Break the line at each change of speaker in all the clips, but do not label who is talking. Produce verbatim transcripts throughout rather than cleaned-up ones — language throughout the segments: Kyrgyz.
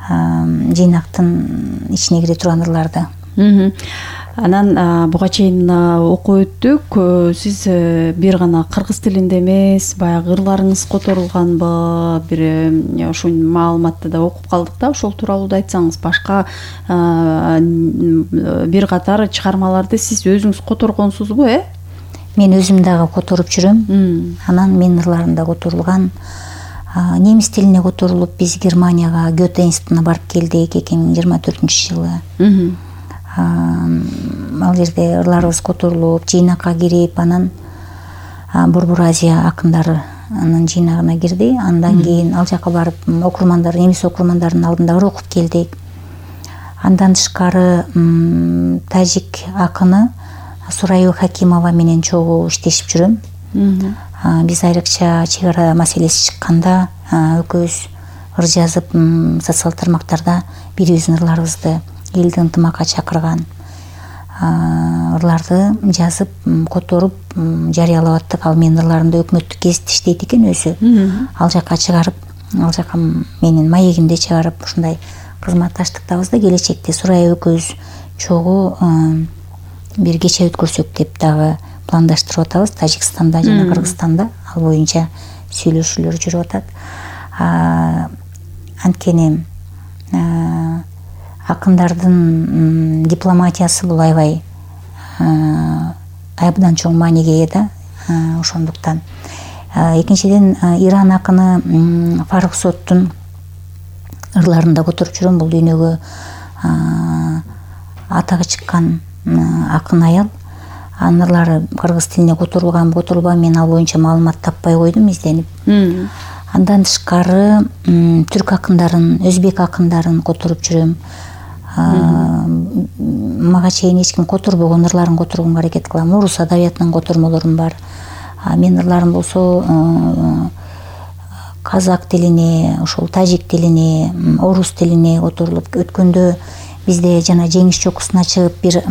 жыйнактын ичине кире турган ырларды.
Анан буга чейин окуп өттүк. Сиз бир гана кыргыз тилинде эмес, баягы ырларыңыз которулганбы, бир ушул маалыматты да окуп калдык да, ошол тууралуу да айтсаңыз. Башка бир катар чыгармаларды сиз өзүңүз которгонсузбу, э?
Мен өзүм дагы которуп жүрөм. Анан менин ырларым да которулган. Немис тилине которулуп, биз Германияга Гёте институтуна барып келдик эки миң жыйырма төртүнчү жылы. Ал жерде ырларыбыз которулуп, жыйнакка кирип, анан Борбор Азия акындарынын жыйнагына кирди. Андан кийин ал жака барып, окурмандар, немис окурмандардын алдында ыр окуп келдик. Андан тышкары тажик акыны Сурайбек Хакимова менен чогуу иштешип жүрөм. Биз айрыкча чек ара маселеси чыкканда экөөбүз ыр жазып, социал тармактарда бирибиздин ырларыбызды элди ынтымакка чакырган ырларды жазып, которуп, жарыялап аттык. Ал менин ырларымды өкмөттүк гезитте иштейт экен өзү. Ал жака чыгарып, ал жака менин маегимде чыгарып, ушундай кызматташтыктабыз да. Келечекте Сурай экөөбүз чогуу бир кече өткөрсөк деп дагы пландаштырып атабыз. Тажикстанда жана Кыргызстанда ал боюнча сүйлөшүүлөр жүрүп атат. Анткени акындардын дипломатиясы бул аябай абдан чоң мааниге ээ да. Ошондуктан экинчиден Иран акыны Фарухсоттун ырларын да которуп жүрөм. Бул дүйнөгө атагы чыккан акын аял. Анын ырлары кыргыз тилине которулганбы, которулбайбы, мен ал боюнча маалымат таппай койдум изденип. Андан тышкары түрк акындарын, өзбек акындарын которуп жүрөм. Мага чейин эч ким которбогон ырларын которгонго аракет кылам. Орус адабиятынан котормолорум бар. Менин ырларым болсо казак тилине, ошол тажик тилине, орус тилине которулуп өткөндө бизде жана жеңиш чокусуна чыгып бир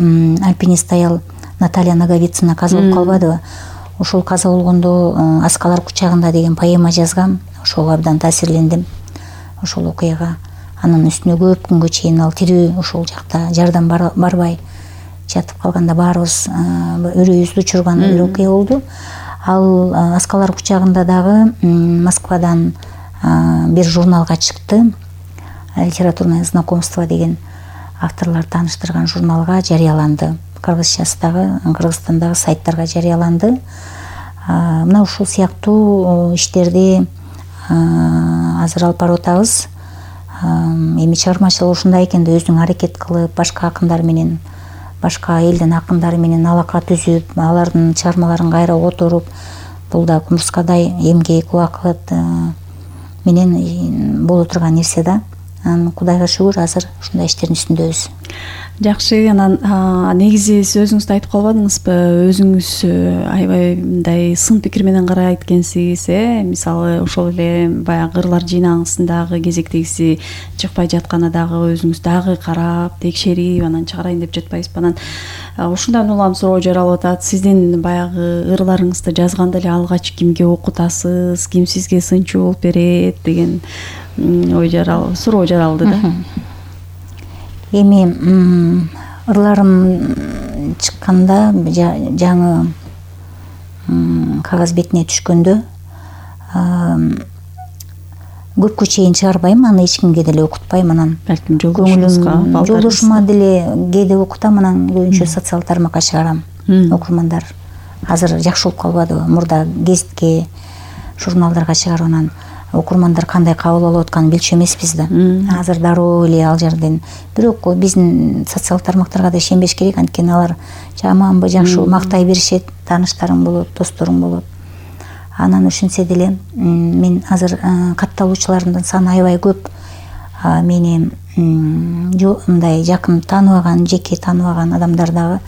альпинист аял Наталья Наговицына каза болуп калбадыбы? Ошол каза болгондо Аскалар кучагында деген поэма жазгам. Ошого абдан таасирлендим. Ошол окуяга. Анын үстүнө көп күнгө чейин ал тирүү ошол жакта жардам барбай жатып калганда баарыбыз өрөйүбүздү учурган бир окуя болду. Ал Аскалар кучагында дагы Москвадан бир журналга чыкты. Литературное знакомство деген авторлор тааныштырган журналга жарыяланды. Кыргызчасындагы, Кыргызстандагы сайттарга жарыяланды. Мына ушул сыяктуу иштерди азыр алып барып атабыз. Эми чыгармачылык ушундай экенде өзүң аракет кылып, башка акындар менен, башка элдин акындары менен алака түзүп, алардын чыгармаларын кайра которуп, бул да кумурскадай эмгек, убакыт менен боло турган нерсе да. Кудайга шүгүр, азыр ушундай иштердин үстүндөбүз.
Жакшы, анан негизи сиз өзүңүз да айтып калбадыңызбы, өзүңүз аябай мындай сын пикир менен карайт экенсиз, э? Мисалы, ошол эле баягы ырлар жыйнагысындагы кезектегиси чыкпай жатканда дагы өзүңүз дагы карап, текшерип, анан чыгарайын деп жатпайсызбы? Анан ушундан улам суроо жаралып атат. Сиздин баягы ырларыңызды жазганда эле алгач кимге окутасыз, ким сизге сынчу болуп берет деген ой жаралып, суроо жаралды да.
Эми ырларым чыкканда, жаңы кагаз бетине түшкөндө көпкө чейин чыгарбайм, аны эч кимге деле окутпайм. Анан
балким жолдошуңузга,
жолдошума деле кээде окутам, анан көбүнчө социал тармакка чыгарам. Окурмандар азыр жакшы болуп калбадыбы? Мурда гезитке, журналдарга чыгарып, анан окурмандар кандай кабыл алып атканын билчү эмеспиз да. Азыр дароо эле ал жерден. Бирок биздин социал тармактарга да ишенбеш керек, анткени алар жаманбы, жакшыбы мактай беришет, тааныштарың болот, досторуң болот. Анан ошентсе деле мен азыр катталуучулардын саны аябай көп. Мени мындай жакын тааныбаган, жеке тааныбаган адамдар дагы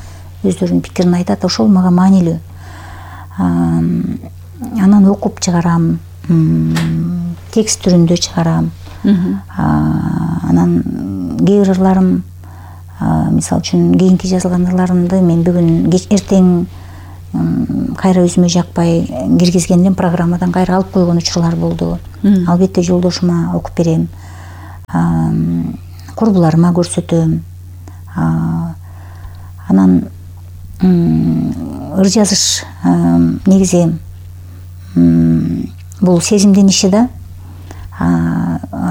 өздөрүнүн пикирин айтат. Ошол мага маанилүү. Анан окуп чыгарам, текст түрүндө чыгарам. Анан кээ бир ырларым, мисалы үчүн кийинки жазылган ырларымды мен бүгүн эртең кайра өзүмө жакпай киргизгенден программадан кайра алып койгон учурлар болду. Албетте жолдошума окуп берем. курбуларыма көрсөтөм. Анан ыр жазыш негизи бул сезимдин иши да.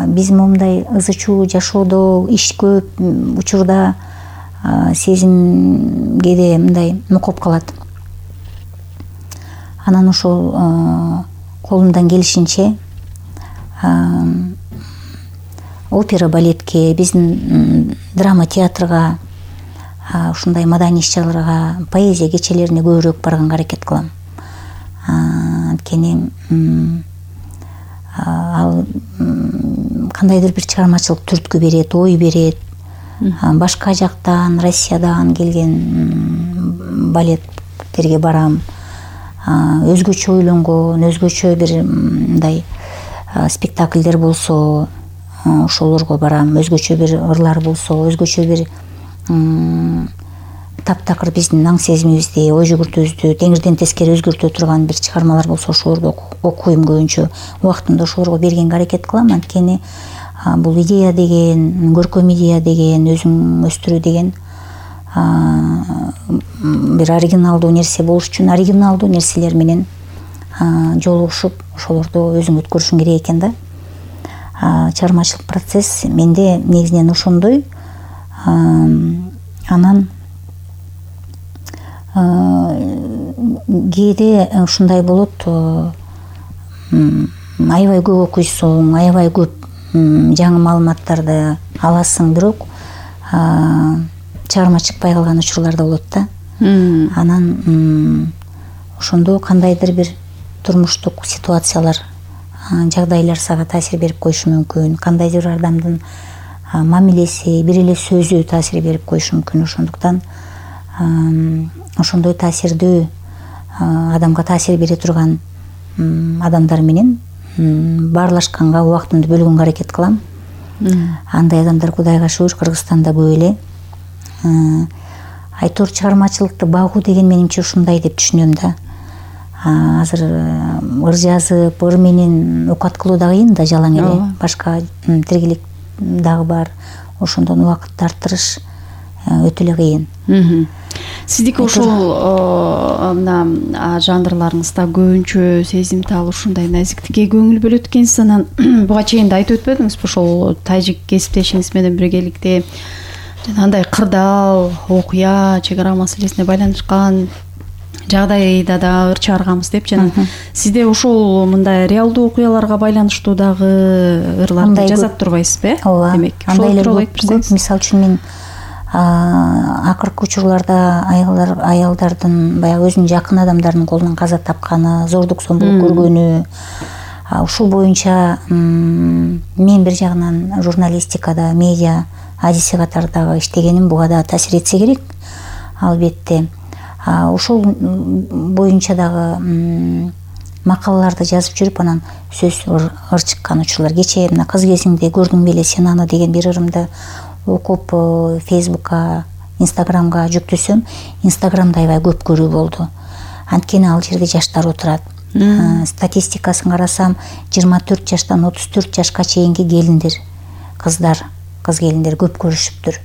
Биз момундай ызы чуу жашоодо иш көп учурда сезим кээде мындай нукуп калат. Анан ошол колумдан келишинче опера балетке, биздин драма театрга, ушундай маданий иш-чараларга, поэзия кечелерине көбүрөөк барганга аракет кылам. Анткени ал кандайдыр бир чыгармачылык түрткү берет, ой берет. Башка жактан, Россиядан келген балеттерге барам. Өзгөчө ойлонгон, өзгөчө бир мындай спектакльдер болсо, ошолорго барам. Өзгөчө бир ырлар болсо, өзгөчө бир таптакыр биздин аң сезимибизди, ой жүгүртүүбүздү теңирден тескери өзгөртө турган бир чыгармалар болсо, ошолорду окуйм көбүнчө. Убактымды ошолорго бергенге аракет кылам. Анткени бул идея деген, көркөм идея деген, өзүң өстүрүү деген бир оригиналдуу нерсе болуш үчүн оригиналдуу нерселер менен жолугушуп, ошолорду өзүң өткөрүшүң керек экен да. Чыгармачылык процесс менде негизинен ошондой. Анан кээде ушундай болот, аябай көп окуйсуң, аябай көп жаңы маалыматтарды аласың, бирок чыгармачыкпай калган учурлар да болот да. Анан ошондо кандайдыр бир турмуштук ситуациялар, жагдайлар сага таасир берип коюшу мүмкүн. Кандайдыр бир адамдын мамилеси, бир эле сөзү таасир берип коюшу мүмкүн. Ошондуктан ошондой таасирдүү адамга таасир бере турган адамдар менен баарлашканга, убактымды бөлгөнгө аракет кылам. Андай адамдар Кудайга шүгүр Кыргызстанда көп эле. Айтор чыгармачылыкты багуу деген менимче ушундай деп түшүнөм да. Азыр ыр жазып, ыр менен окат кылуу да кыйын да, жалаң эле. Башка тиргелик дагы бар. Ошондон убакыт тартырыш өтө эле кыйын.
Сиздики ошол мына жанрларыңызда көбүнчө сезимтал, ушундай назиктикке көңүл бөлөт экенсиз. Анан буга чейин да айтып өтпөдүңүзбү, ошол тажик кесиптешиңиз менен биргеликте андай кырдаал окуя, чек ара маселесине байланышкан жагдайда да ыр чыгарганбыз деп, жана сизде ошол мындай реалдуу окуяларга байланыштуу дагы ырларды жазат турбайсызбы?
Ооба.
Демек,
ошол тууралуу айтып берсеңиз. Мисалы үчүн мен акыркы учурларда аялдар аялдардын баягы өзүнүн жакын адамдарынын колунан каза тапканы, зордук зомбулук көргөнү, ушул боюнча мен бир жагынан журналистикада, медиа адиси катары дагы иштегеним буга да таасир этсе керек, албетте. Ошол боюнча дагы макалаларды жазып жүрүп, анан сөз ыр чыккан учурлар. Кечээ мына кыз кезиңде көрдүң беле сен аны деген бир ырымды окуп Фейсбукка, Инстаграмга жүктөсөм, Инстаграмда аябай көп көрүү болду. Анткени ал жерде жаштар отурат. Статистикасын карасам, жыйырма төрт жаштан отуз төрт жашка чейинки келиндер, кыздар, кыз келиндер көп көрүшүптүр.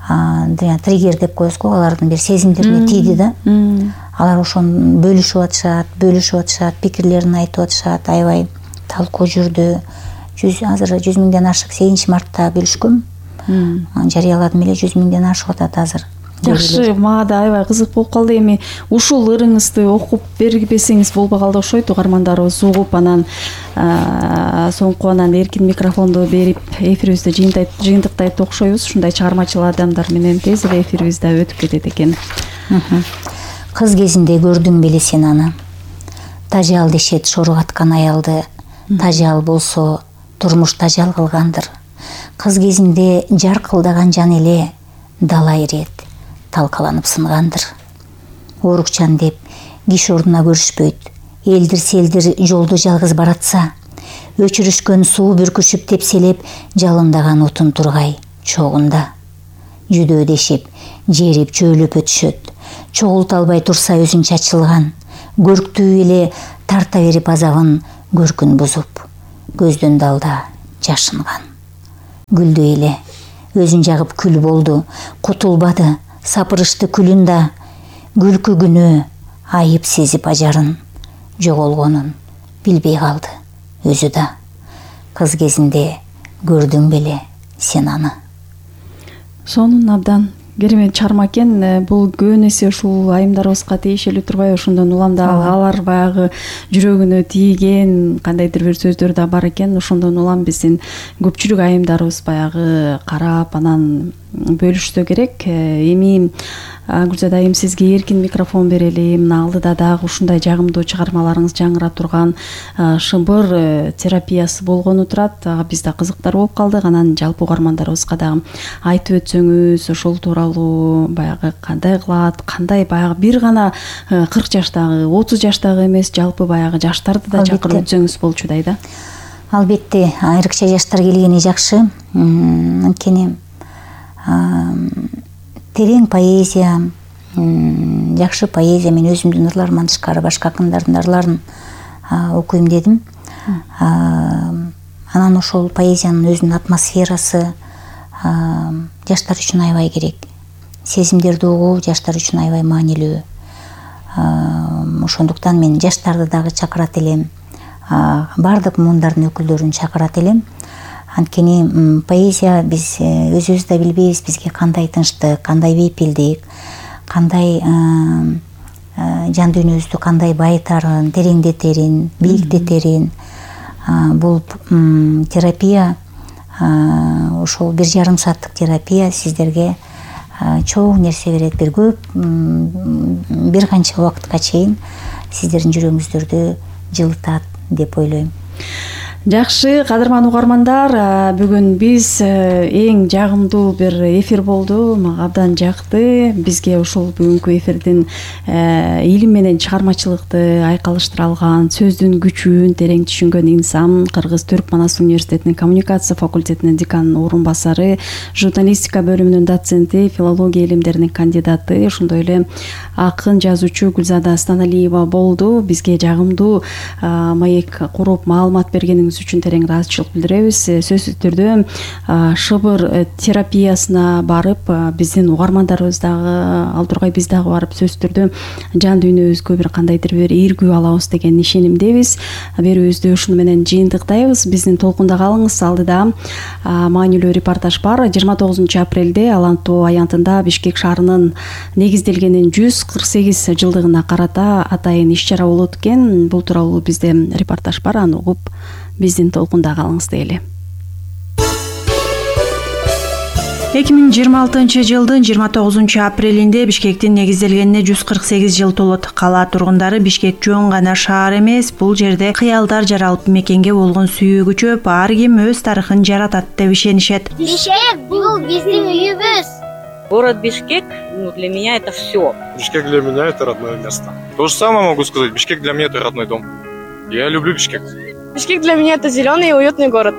Триггер деп коебуз го, алардын бир сезимдерине тийди да. Алар ошону бөлүшүп атышат, бөлүшүп атышат, пикирлерин айтып атышат, аябай талкуу жүрдү. Азыр жүз миңден ашык сегизинчи мартта бөлүшкөм. Жарыяладым эле, жүз миңден ашып атат азыр.
Жакшы, мага да аябай кызык болуп калды. Эми ушул ырыңызды окуп бербесеңиз болбогалды окшойт, угармандарыбыз угуп, анан соңку анан эркин микрофонду берип эфирибизди жыйынтыктайт окшойбуз. Ушундай чыгармачыл адамдар менен тез эле эфирибиз да өтүп кетет экен.
Кыз кезинде көрдүң беле сен аны, тажал дешет шоргаткан аялды, тажал болсо турмуш тажал кылгандыр. Кыз кезинде жаркылдаган жан эле дала ирет, талкаланып сынгандыр. Оорукчан деп киши ордуна көрүшпөйт, элдир селдир жолду жалгыз баратса, өчүрүшкөн суу бүркүшүп тепселеп, жалындаган отун тургай чогунда. Жүдөөдешип, жерип чөөлөп өтүшөт, чогулта албай турса өзүн чачылган, көрктүү эле тарта берип азабын көркүн бузуп, көздөн далда жашынган. гүлдөй эле өзүн жагып күл болду, кутулбады, сапырышты күлүн да, күлкү күнөө айып сезип ажарын, жоголгонун билбей калды өзү да. Кыз кезинде көрдүң беле сен аны.
Сонун абдан керемет чарма экен. Бул көбүн эсе ушул айымдарыбызга тиешелүү турбайбы? Ошондон улам да алар баягы жүрөгүнө тийген кандайдыр бир сөздөр да бар экен. Ошондон улам биздин көпчүлүк айымдарыбыз баягы карап анан бөлүшсө керек. Эми Гүлзада айым, сизге эркин микрофон берели. Мына алдыда дагы ушундай жагымдуу чыгармаларыңыз жаңырап турган шыбыр терапиясы болгону турат. Биз да кызыктар болуп калдык. Анан жалпы угармандарыбызга дагы айтып өтсөңүз, ошол тууралуу баягы кандай кылат, кандай баягы бир гана кырк жаштагы, отуз жаштагы эмес, жалпы баягы жаштарды да чакырып өтсөңүз болчудай да.
Албетте, айрыкча жаштар келгени жакшы. Анткени терең поэзия, жакшы поэзия, мен өзүмдүн ырларыман тышкары башка акындардын ырларын окуйм дедим. Анан ошол поэзиянын өзүнүн атмосферасы жаштар үчүн аябай керек. Сезимдерди угуу жаштар үчүн аябай маанилүү. Ошондуктан мен жаштарды дагы чакырат элем. Бардык муундардын өкүлдөрүн чакырат элем. Анткени поэзия биз өзүбүз да билбейбиз бизге кандай тынчтык, кандай бейпилдик, кандай жан дүйнөбүздү кандай байытарын, тереңдетерин, бийиктетерин. Бул терапия, ошол бир жарым сааттык терапия сиздерге чоң нерсе берет. Бир көп, бир канча убакытка чейин сиздердин жүрөгүңүздөрдү жылытат деп ойлойм.
Жакшы, кадырман угармандар, бүгүн биз эң жагымдуу бир эфир болду. Мага абдан жакты. Бизге ушул бүгүнкү эфирдин илим менен чыгармачылыкты айкалыштыра алган, сөздүн күчүн терең түшүнгөн инсан, Кыргыз-Түрк Манас университетинин коммуникация факультетинин деканынын орун басары, журналистика бөлүмүнүн доценти, филология илимдеринин кандидаты, ошондой эле акын жазуучу Гүлзада Станалиева болду. Бизге жагымдуу маек куруп маалымат бергениңиз үчүн терең ыраазычылык билдиребиз. Сөзсүз түрдө шыбыр терапиясына барып, биздин угармандарыбыз дагы ал тургай биз дагы барып сөзсүз түрдө жан дүйнөбүзгө бир кандайдыр бир ийгүү алабыз деген ишенимдебиз. Берүүбүздү ушуну менен жыйынтыктайбыз. Биздин толкунда калыңыз. Алдыда маанилүү репортаж бар. жыйырма тогузунчу апрелде Алан Тоо аянтында Бишкек шаарынын негизделгенин жүз кырк сегиз жылдыгына карата атайын иш чара болот экен. Бул тууралуу бизде репортаж бар. Аны угуп биздин толкунда калыңыз дейли. эки миң жыйырма алтынчы жылдын жыйырма тогузунчу апрелинде Бишкектин негизделгенине жүз кырк сегиз жыл толот. Кала тургундары Бишкек жөн гана шаар эмес, бул жерде кыялдар жаралып мекенге болгон сүйүү күчөп, ар ким өз тарыхын жаратат деп ишенишет.
Бишкек бул биздин үйүбүз.
Город Бишкек, ну, для меня это все.
Бишкек для меня это родное место. То же самое могу сказать. Бишкек для меня это родной дом. Я люблю Бишкек.
Бишкек для меня это зеленый и уютный город.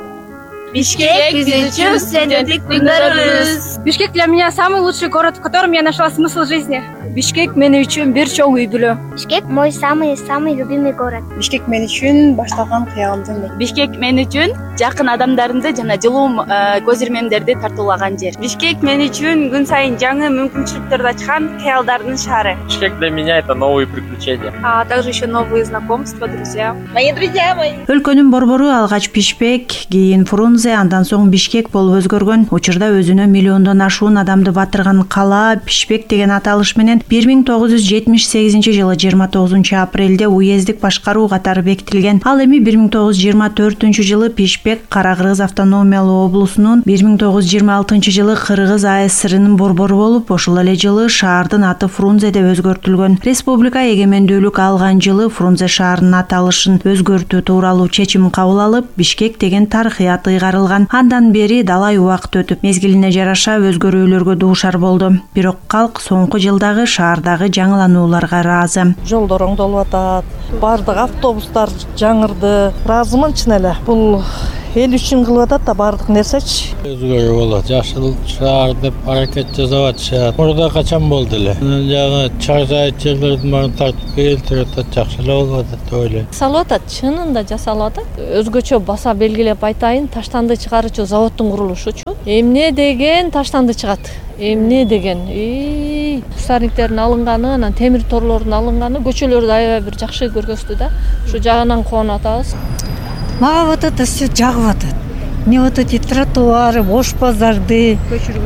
Бишкек биз үчүн студенттик күндөрүбүз.
Бишкек для меня самый лучший город, в котором я нашла смысл жизни. Бишкек мен үчүн бир чоң үй бүлө.
Бишкек мой самый-самый любимый город.
Бишкек мен үчүн башталган кыялымдын.
Бишкек мен үчүн жакын адамдарымды жана жылуу көз ирмемдерди тартуулаган жер.
Бишкек мен үчүн күн сайын жаңы мүмкүнчүлүктөрдү ачкан кыялдардын шаары.
Бишкек для меня это новые приключения.
А также еще новые знакомства, друзья.
Мои друзья мои.
Өлкөнүн борбору алгач Бишкек, кийин Фрунзе, андан соң Бишкек болуп өзгөргөн. Учурда өзүнө миллиондон ашуун адамды батырган кала Бишкек деген аталыш менен бир миң тогуз жүз жетимиш сегизинчи жылы жыйырма тогузунчу апрелде уездик башкаруу катары бекитилген. Ал эми бир миң тогуз жүз жыйырма төртүнчү жылы Бишкек Кара Кыргыз автономиялуу облусунун, бир миң тогуз жүз жыйырма алтынчы жылы Кыргыз А С Рынын борбору болуп, ошол эле жылы шаардын аты Фрунзе деп өзгөртүлгөн. Республика эгемендүүлүк алган жылы Фрунзе шаарынын аталышын өзгөртүү тууралуу чечим кабыл алып, Бишкек деген тарыхый ат ыйгарылган. Андан бери далай убакыт өтүп, мезгилине жараша өзгөрүүлөргө дуушар болду. Бирок калк соңку жылдагы шаардагы жаңыланууларга ыраазы.
Жолдор оңдолуп атат, баардык автобустар жаңырды. Ыраазымын чын эле. Бул эл үчүн кылып атат да баардык нерсечи.
Өзгөрүү болот. Жашыл шаар деп аракет жасап атышат. Мурда качан болду эле. Жана чаржайт жерлердин баарын тартып келтирип атат, жакшы эле болуп атат деп ойлойм.
Жасалып атат, чынында жасалып атат. Өзгөчө баса белгилеп айтайын, таштанды чыгаруучу заводдун курулушучу. Эмне деген таштанды чыгат? Эмне деген? И кустарниктердин алынганы, анан темир торлордун алынганы көчөлөрдү аябай бир жакшы көргөздү да. Ушу жагынан кубанып атабыз.
Мага вот это все жагып атат. Мне вот эти тротуары, бош базарды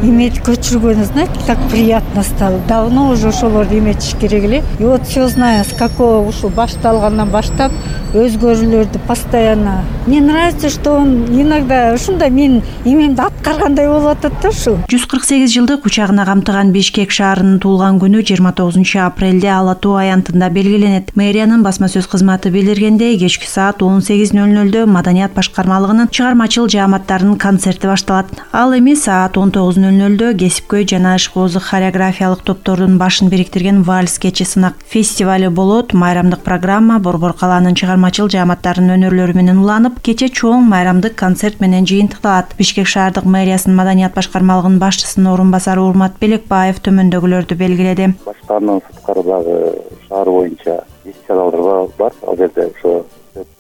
иметь көчүргөнү, знаете, так приятно стало. Давно уже ошолорду эметиш керек эле. И вот все знаю, с какого ушул башталгандан баштап өзгөрүүлөрдү постоянно. Мне нравится, что он иногда ушундай мен эмемди аткаргандай болуп атат да ушул.
жүз кырк сегиз жылдык учагына камтыган Бишкек шаарынын туулган күнү жыйырма тогузунчу апрелде Ала Тоо аянтында белгиленет. Мэриянын басма сөз кызматы билдиргендей, кечки саат он сегиз ноль нольдө Маданият башкармалыгынын чыгармачыл жааматтарынын концерти башталат. Ал эми саат он тогуз ноль нольдө кесипкөй жана ишкоозу хореографиялык топтордун башын бириктирген вальс кечи сынак фестивали болот. Майрамдык программа Борбор калаанын чыгармачыл жааматтарынын өнөрлөрү менен уланып, кече чоң майрамдык концерт менен жыйынтыкталат. Бишкек шаардык мэриясынын Маданият башкармалыгынын башчысынын орун басары Урмат Белекбаев төмөндөгүлөрдү белгиледи.
Башкаанын сырткарыдагы шаар боюнча иш-чаралар бар. Ал жерде ошо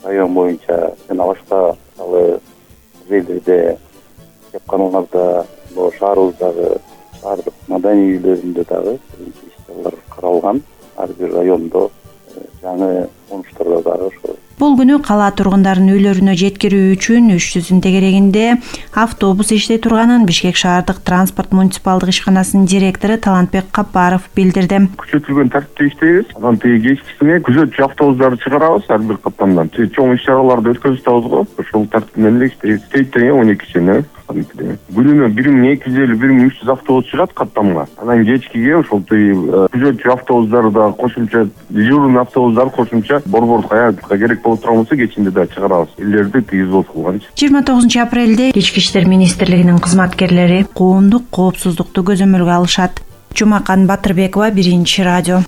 район боюнча жана башка мисалы жерлерде жапканыңарда бул шаарыбыздагы баардык маданий үйлөрүндө дагы иш-чаралар каралган. Ар бир райондо жаңы конуштарда дагы ошо.
Бул күнү кала тургундарынын үйлөрүнө жеткирүү үчүн үч жүздүн тегерегинде автобус иштей турганын Бишкек шаардык транспорт муниципалдык ишканасынын директору Талантбек Капаров билдирди.
Күчөтүлгөн тартипте иштейбиз. Анан тиги кечкисине күзөтчү автобустарды чыгарабыз ар бир каттамдан. Чоң иш-чараларды өткөзүп атабыз го. Ошол тартип менен эле иштейбиз. Тейттен он экичине күнүнө бир миң эки жүз элүү бир миң үч жүз автобус чыгат каттамга. Анан кечкиге ошол күзөтчү автобустары да кошумча, дежурный автобустар кошумча борбор каякка керек болуп турган болсо кечинде да чыгарабыз. Элдерди тигиз болуп калган.
жыйырма тогузунчу апрелде Ички иштер министрлигинин кызматкерлери коомдук коопсуздукту көзөмөлгө алышат. Жумакан Батырбекова, Биринчи радио.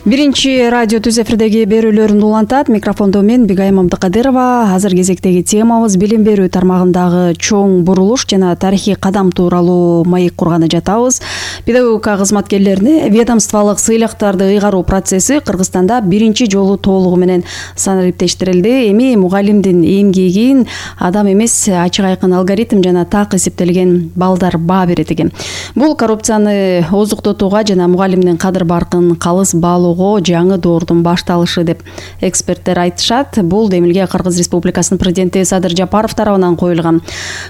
Биринчи радио түз эфирдеги берүүлөрүн улантат. Микрофондо мен Бигайым Абдыкадырова. Азыр кезектеги темабыз билим берүү тармагындагы чоң бурулуш жана тарыхый кадам тууралуу маек курганы жатабыз. Педагогика кызматкерлерине ведомстволук сыйлыктарды ыйгаруу процесси Кыргызстанда биринчи жолу толугу менен санариптештирилди. Эми мугалимдин эмгегин адам эмес, ачык айкын алгоритм жана так эсептелген балдар баа берет экен. Бул коррупцияны оздуктотууга жана мугалимдин кадыр баркын калыс баалоо жаңы доордун башталышы деп эксперттер айтышат. Бул демилге Кыргыз Республикасынын президенти Садыр Жапаров тарабынан коюлган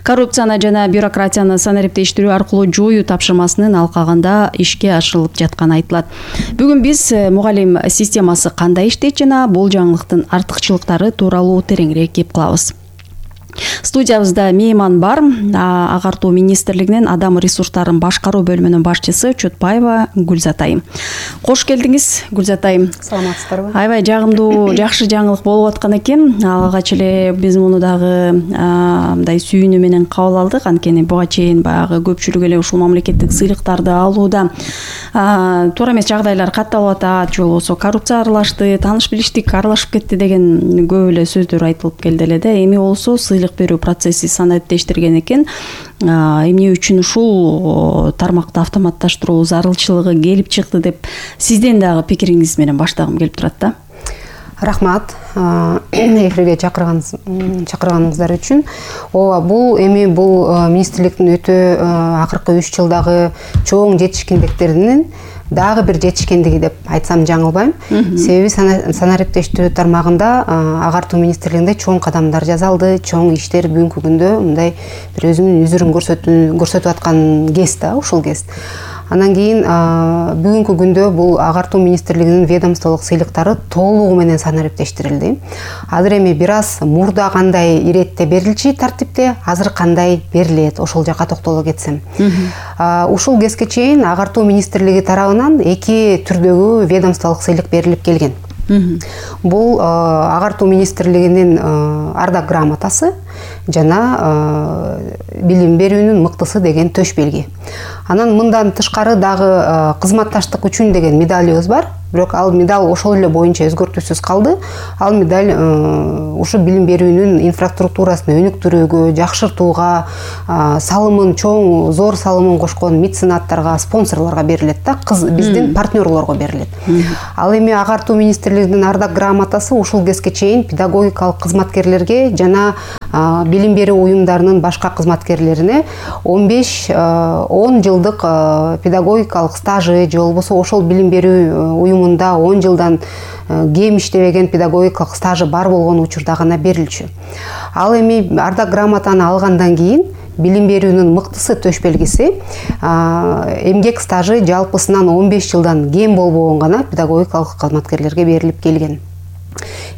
коррупцияны жана бюрократияны санариптештирүү аркылуу жоюу тапшырмасынын алкагында ишке ашырылып жатканы айтылат. Бүгүн биз мугалим системасы кандай иштейт жана бул жаңылыктын артыкчылыктары тууралуу тереңирээк кеп кылабыз. Студиябызда мейман бар. Агартуу министрлигинин адам ресурстарын башкаруу бөлүмүнүн башчысы Чотпаева Гүлзатай. Кош келдиңиз, Гүлзатай.
Саламатсыздарбы?
Аябай жагымдуу, жакшы жаңылык болуп аткан экен. Алгач эле биз муну дагы мындай сүйүнүү менен кабыл алдык. Анткени буга чейин баягы көпчүлүк эле ушул мамлекеттик сыйлыктарды алууда туура эмес жагдайлар катталып атат, же болбосо коррупция аралашты, тааныш билиштик аралашып кетти деген көп эле сөздөр айтылып келди эле да. Эми болсо сыйлык берүү процесси санариптештирген экен. Эмне үчүн ушул тармакты автоматташтыруу зарылчылыгы келип чыкты деп сизден дагы пикириңиз менен баштагым келип турат да.
Рахмат эфирге чакырганыңыздар үчүн. Ооба, бул эми бул министрликтин өтө акыркы үч жылдагы чоң жетишкендиктеринин дагы бир жетишкендиги деп айтсам жаңылбайм. Себеби санариптештирүү тармагында агартуу министрлигинде чоң кадамдар жасалды, чоң иштер бүгүнкү күндө мындай бир өзүнүн үзүрүн көрсөтүп аткан кез да, ушул кез. Андан кийин бүгүнкү күндө бул агартуу министрлигинин ведомстволук сыйлыктары толугу менен санариптештирилди. Азыр эми бир аз мурда кандай иретте берилчү тартипте, азыр кандай берилет, ошол жакка токтоло кетсем. Ушул кезге чейин агартуу министрлиги тарабынан эки түрдөгү ведомстволук сыйлык берилип келген. Бул агартуу министрлигинин ардак грамотасы жана билим берүүнүн мыктысы деген төш белги. Анан мындан тышкары дагы кызматташтык үчүн деген медалыбыз бар. Бирок ал медаль ошол эле боюнча өзгөртүүсүз калды. Ал медаль ушу билим берүүнүн инфраструктурасын өнүктүрүүгө, жакшыртууга, салымын чоң, зор салымын кошкон меценаттарга, спонсорлорго берилет да, биздин партнерлорго берилет. Ал эми агартуу министрлигинин ардак грамотасы ушул кезге чейин педагогикалык кызматкерлерге жана билим берүү уюмдарынын башка кызматкерлерине он беш он жылдык педагогикалык стажы же болбосо ошол билим берүү уюмунда он жылдан кем иштебеген педагогикалык стажы бар болгон учурда гана берилчү. Ал эми ардак грамотаны алгандан кийин билим берүүнүн мыктысы төш белгиси эмгек стажы жалпысынан он беш жылдан кем болбогон гана педагогикалык кызматкерлерге берилип келген.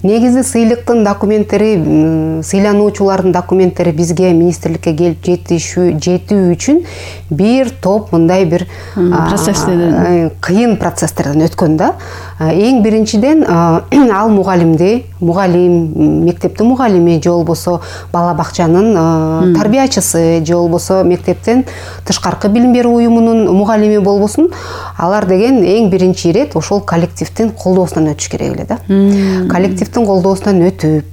Негизи сыйлыктын документтери, сыйлануучулардын документтери бизге министрликке келип жетүү үчүн бир топ мындай бир процесстерден, кыйын процесстерден өткөн да. Эң биринчиден ал мугалимди, мугалим, мектептин мугалими же болбосо бала бакчанын тарбиячысы же болбосо мектептен тышкаркы билим берүү уюмунун мугалими болбосун, алар деген эң биринчи ирет ошол коллективдин колдоосунан өтүш керек эле да. Коллективдин колдоосунан өтүп,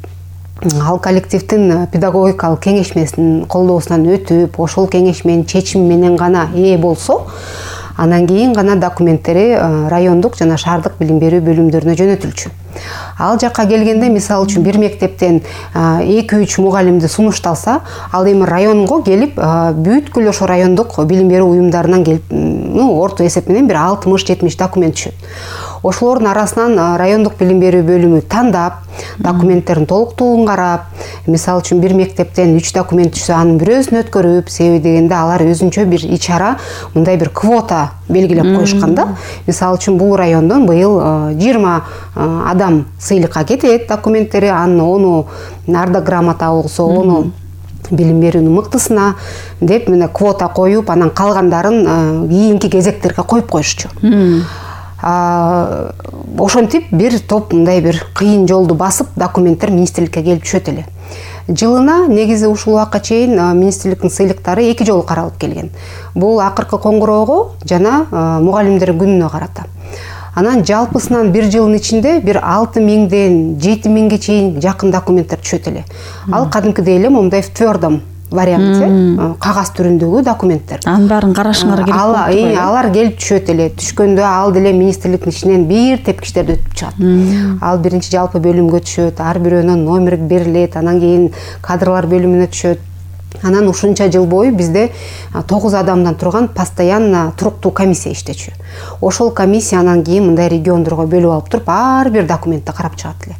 ал коллективдин педагогикалык кеңешмесинин колдоосунан өтүп, ошол кеңешменин чечими менен гана ээ болсо, анан кийин гана документтери райондук жана шаардык билим берүү бөлүмдөрүнө жөнөтүлчү. Ал жакка келгенде, мисалы үчүн бир мектептен эки үч мугалимди сунушталса, ал эми районго келип, бүткүл ошо райондук билим берүү уюмдарынан келип, орто эсеп менен бир алтымыш жетимиш документ түшөт. Ошолордун арасынан райондук билим берүү бөлүмү тандап, документтердин толуктугун карап, мисалы үчүн бир мектептен үч документ түшсө, анын бирөөсүн өткөрүп, себеби дегенде алар өзүнчө бир ичара, мындай бир квота белгилеп коюшкан да. Мисалы үчүн бул райондон быйыл жыйырма адам сыйлыкка кетет документтери, анын ону ардак грамота болсо, ону билим берүүнүн мыктысына деп мына квота коюп, анан калгандарын кийинки кезектерге коюп коюшчу. Ошентип бир топ мындай бир кыйын жолду басып документтер министрликке келип түшөт эле. Жылына негизи ушул убакка чейин министрликтин сыйлыктары эки жолу каралып келген. Бул акыркы коңгуроого жана мугалимдер күнүнө карата. Анан жалпысынан бир жылдын ичинде бир алты миңден жети миңге чейин жакын документтер түшөт эле. Ал кадимкидей эле момундай в твёрдом варианте, кагаз түрүндөгү документтер.
Анын баарын карашыңар керек болуп турбайбы?
Алар келип түшөт эле. Түшкөндө ал деле министрликтин ичинен бир тепкичтерди өтүп чыгат. Ал биринчи жалпы бөлүмгө түшөт, ар бирөөнүн номери берилет, анан кийин кадрлар бөлүмүнө түшөт. Анан ушунча жыл бою бизде тогуз адамдан турган постоянно туруктуу комиссия иштечү. Ошол комиссия анан кийин мындай региондорго бөлүп алып туруп, ар бир документти карап чыгат эле.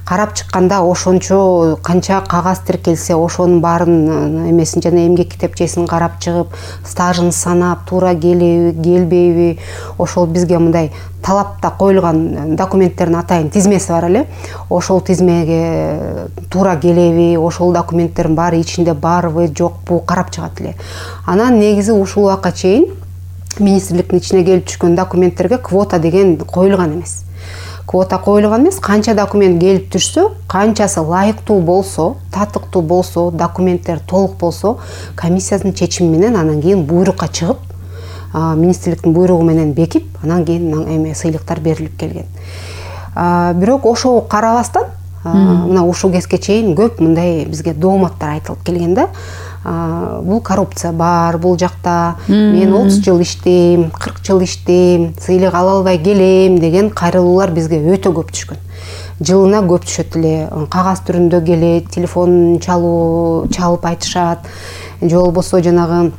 Карап чыкканда ошончо канча кагаз тиркелсе, ошонун баарын эмесин жана эмгек китепчесин карап чыгып, стажын санап, туура келеби, келбейби, ошол бизге мындай талапта коюлган документтердин атайын тизмеси бар эле. Ошол тизмеге туура келеби, ошол документтердин баары ичинде барбы, жокпу карап чыгат эле. Анан негизи ушул убакка чейин министрликтин ичине келип түшкөн документтерге квота деген коюлган эмес. Квота коюлган эмес, канча документ келип түшсө, канчасы лайыктуу болсо, татыктуу болсо, документтер толук болсо, комиссиянын чечими менен анан кийин буйрукка чыгып, министрликтин буйругу менен бекип, анан кийин эме сыйлыктар берилип келген. Бирок ошого карабастан, мына ушул кезге чейин көп мындай бизге дооматтар айтылып келген да. Бул коррупция бар, бул жакта мен отуз жыл иштейм, кырк жыл иштейм, сыйлык ала албай келем деген кайрылуулар бизге өтө көп түшкөн. Жылына көп түшөт эле, кагаз түрүндө келет, телефон чалуу, чалып айтышат, же болбосо жанагы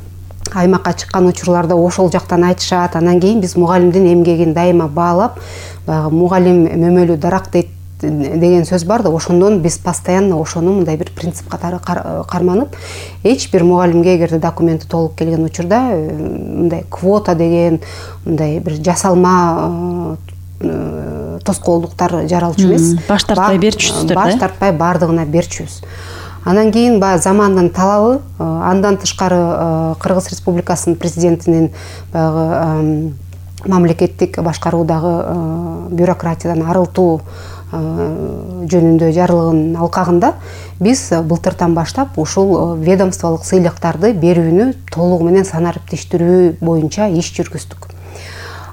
аймакка чыккан учурларда ошол жактан айтышат. Анан кийин биз мугалимдин эмгегин дайыма баалап, баягы мугалим мөмөлү дарак дейт деген сөз бар да, ошондон биз постоянно ошону мындай бир принцип катары карманып, эч бир мугалимге эгерде документи толук келген учурда мындай квота деген мындай бир жасалма тоскоолдуктар жаралчу эмес.
Баш тартпай берчүсүздөр да?
Баш тартпай бардыгына берчүбүз. Анан кийин баягы замандын талабы, андан тышкары Кыргыз Республикасынын президентинин баягы мамлекеттик башкаруудагы бюрократиядан арылтуу жөнүндө жарлыгынын алкагында биз былтыртан баштап ушул ведомстволук сыйлыктарды берүүнү толугу менен санариптештирүү боюнча иш жүргүздүк.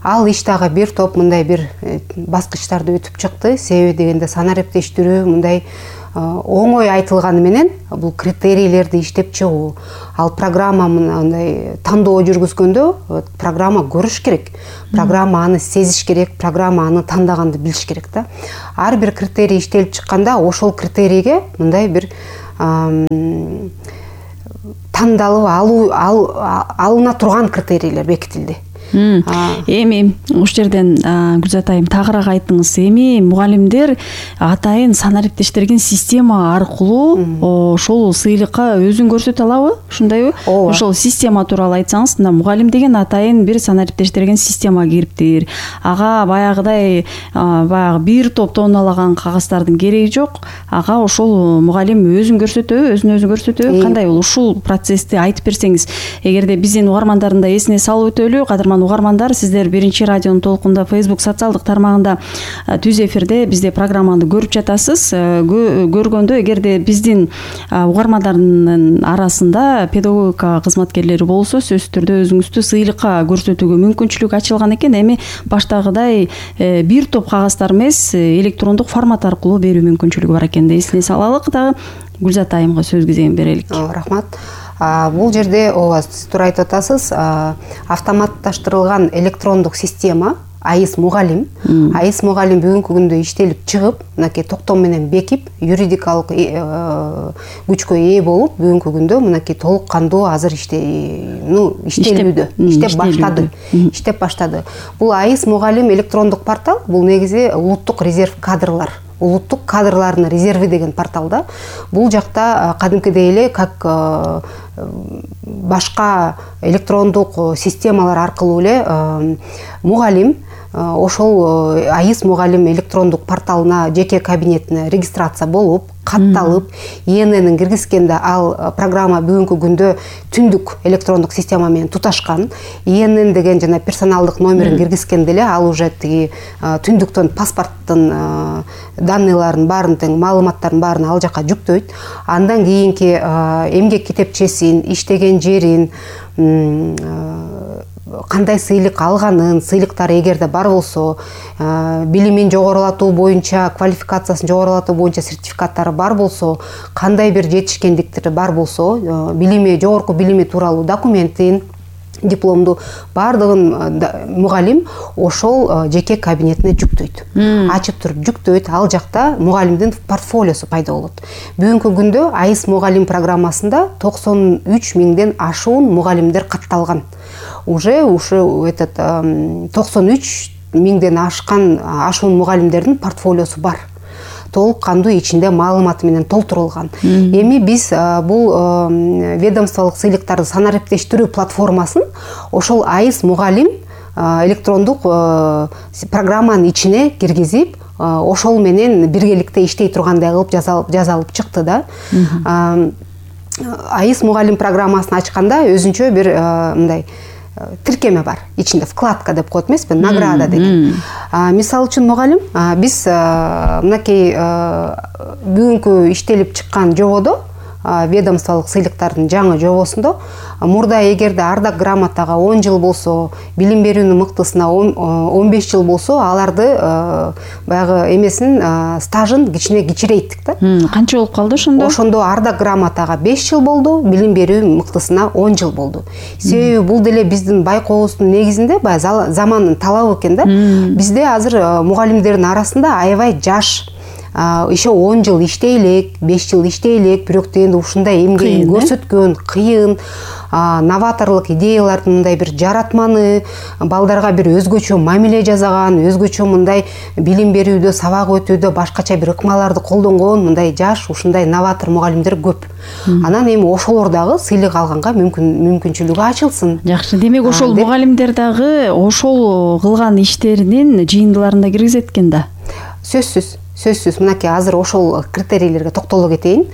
Ал иш дагы бир топ мындай бир баскычтарды өтүп чыкты. Себеби дегенде санариптештирүү мындай оңой айтылганы менен бул критерийлерди иштеп чыгуу, ал программа мындай тандоо жүргүзгөндө программа көрүш керек, программа аны сезиш керек, программа аны тандаганда билиш керек да. Ар бир критерий иштелип чыкканда ошол критерийге мындай бир тандалып алуу алына турган критерийлер бекитилди.
Эми ушул жерден Гүлзат айым тагыраак айтыңыз. Эми мугалимдер атайын санариптештирген система аркылуу ошол сыйлыкка өзүн көрсөтө алабы? Ушундайбы? Ошол система тууралуу айтсаңыз, мына мугалим деген атайын бир санариптештирген система кириптир. Ага баягыдай баягы бир топ тонналаган кагаздардын кереги жок. Ага ошол мугалим өзүн көрсөтөбү, өзүн өзү көрсөтөбү? Кандай бул ушул процессти айтып берсеңиз? Эгерде биздин угармандардын да эсине салып өтөлү, кадырман угармандар, сиздер биринчи радионун толкунда Facebook социалдык тармагында түз эфирде бизде программаны көрүп жатасыз. Көргөндө эгерде биздин угармандардын арасында педагогика кызматкерлери болсо, сөзсүз түрдө өзүңүздү сыйлыкка көрсөтүүгө мүмкүнчүлүк ачылган экен. Эми баштагыдай бир топ кагаздар эмес, электрондук формат аркылуу берүү мүмкүнчүлүгү бар экен. Эсине салалык дагы. Гүлзат айымга сөз кезегин берелик.
Рахмат. Бул жерде ооба сиз туура айтып атасыз. Автоматташтырылган электрондук система АИС мугалим. АИС мугалим бүгүнкү күндө иштелип чыгып, мынакей токтом менен бекип, юридикалык күчкө ээ болуп, бүгүнкү күндө мынакей толук кандуу азыр иштелүүдө, иштеп баштады. Иштеп баштады. Бул АИС мугалим электрондук портал, бул негизи улуттук резерв кадрлар. Улуттук кадрлардын резерви деген порталда. Бул жакта кадимкидей эле как башка электрондук системалар аркылуу эле мугалим ошол АИС мугалим электрондук порталына жеке кабинетине регистрация болуп, катталып, ИННин киргизгенде ал программа бүгүнкү күндө түндүк электрондук система менен туташкан. ИНН деген жана персоналдык номерин киргизгенде эле ал уже тиги түндүктөн паспорттун данныйларын баарын тең маалыматтарын баарын ал жака жүктөйт. Андан кийинки эмгек китепчесин, иштеген жерин, кандай сыйлык алганын, сыйлыктары эгерде бар болсо, билимин жогорулатуу боюнча, квалификациясын жогорулатуу боюнча сертификаттары бар болсо, кандай бир жетишкендиктери бар болсо, билими, жогорку билими тууралуу документин, дипломду бардыгын мугалим ошол жеке кабинетине жүктөйт. Ачып туруп жүктөйт. Ал жакта мугалимдин портфолиосу пайда болот. Бүгүнкү күндө АИС мугалим программасында токсон үч миңден ашуун мугалимдер катталган. Уже ушу этот токсон үч миңден ашкан ашуун мугалимдердин портфолиосу бар. Толук кандуу ичинде маалыматы менен толтурулган. Эми биз бул ведомстволук сыйлыктарды санариптештирүү платформасын ошол АИС мугалим электрондук программанын ичине киргизип, ошол менен биргеликте иштей тургандай кылып жасалып чыкты да. АИС мугалим программасын ачканда өзүнчө бир мындай тиркеме бар. Ичинде вкладка деп коет эмеспи, награда деген. Мисалы үчүн мугалим биз мынакей бүгүнкү иштелип чыккан жободо, ведомстволук сыйлыктардын жаңы жобосунда мурда эгерде ардак грамотага он жыл болсо, билим берүүнүн мыктысына он беш жыл болсо, аларды баягы эмесин стажын кичине кичирейттик да.
Канча болуп калды ошондо?
Ошондо ардак грамотага беш жыл болду, билим берүү мыктысына он жыл болду. Себеби бул деле биздин байкообуздун негизинде баягы замандын талабы экен да. Бизде азыр мугалимдердин арасында аябай жаш, еще он жыл иштей элек, беш жыл иштей элек, бирок дегенде ушундай эмгегин көрсөткөн, кыйын, новаторлук идеялардын мындай бир жаратманы, балдарга бир өзгөчө мамиле жасаган, өзгөчө мындай билим берүүдө, сабак өтүүдө башкача бир ыкмаларды колдонгон мындай жаш, ушундай новатор мугалимдер көп. Анан эми ошолор дагы сыйлык алганга мүмкүнчүлүгү ачылсын.
Жакшы, демек ошол мугалимдер дагы ошол кылган иштеринин жыйындыларында киргизет экен да.
Сөзсүз. сөзсүз мынакей азыр ошол критерийлерге токтоло кетейин.